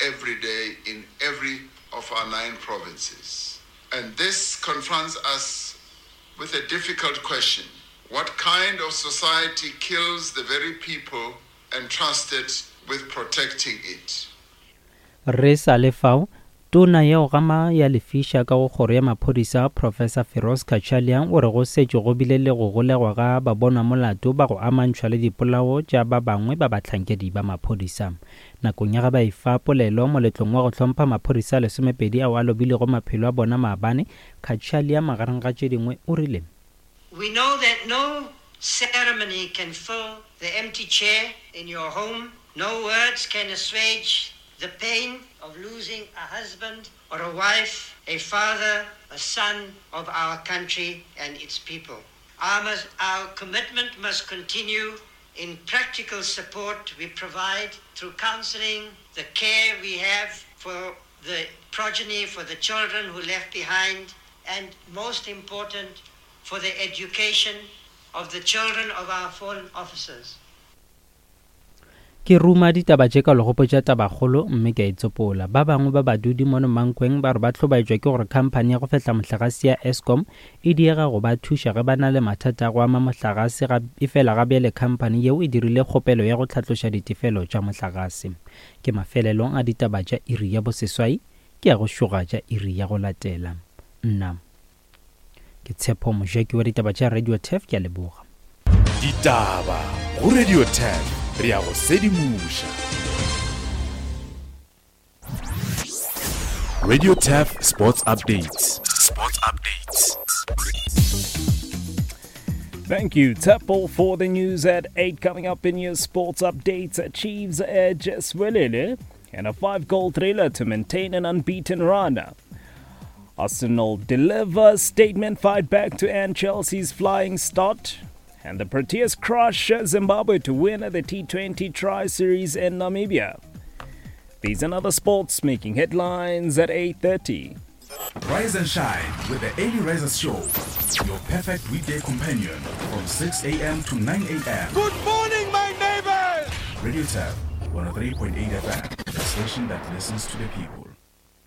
every day in every of our nine provinces. And this confronts us with a difficult question. What kind of society kills the very people entrusted with protecting it? Re sa le fao, Tona ya go gama ya lefiša ka go Kgoro ya Maphodisa, Professor Firoz Cachalia o re go setše go bile le go golegwa ga babonwamolato ba go amantšhwa le dipolao tša ba bangwe ba bahlankedi ba maphodisa. Nakong ya ge ba efa polelo moletlong wa go hlompha maphodisa a lesomepedi ao a lobilego maphelo a bona maabane, Cachalia magareng ga tše dingwe o rile. We know that no ceremony can fill the empty chair in your home, no words can assuage the pain of losing a husband or a wife, a father, a son of our country and its people. Our, must, our commitment must continue in practical support we provide through counseling, the care we have for the progeny, for the children who left behind, and most important, for the education of the children of our fallen officers. Ke ruma ditaba tše ka legopotša tabakgolo mme ke a itsopola. Ba bangwe ba badudi mono Mankweng ba re ba hlobaetšwa ke gore khamphani ya go fehla mohlagase ya Eskom e diega go ba thuša ge ba na le mathata a go ama mohlagase ga efela ga bjale khamphani yeo e dirile kgopelo ya go hlatloša ditefelo tša mohlagase. Ke mafelelong a ditaba tša iri ya boseswai, ke ya go šoga tša iri ya go latela. Nna. Ke Tshepo Mojaki wa ditaba tša Radio Turf, ke a leboga. Ditaba go Radio Turf, re a go sedimoša. Radio Turf Sports Updates. Sports Updates. Thank you, Tshepo, for the news at 8. Coming up in your sports updates, Chiefs edge Siwelele and a five-goal thriller to maintain an unbeaten run. Arsenal deliver statement fight back to end Chelsea's flying start. And the Proteas crush Zimbabwe to win the T20 Tri Series in Namibia. These and other sports making headlines at 8.30. Rise and shine with the Early Risers Show, your perfect weekday companion from 6 a.m. to 9 a.m. Good morning, my neighbors! Radio Turf, 103.8 FM, the station that listens to the people.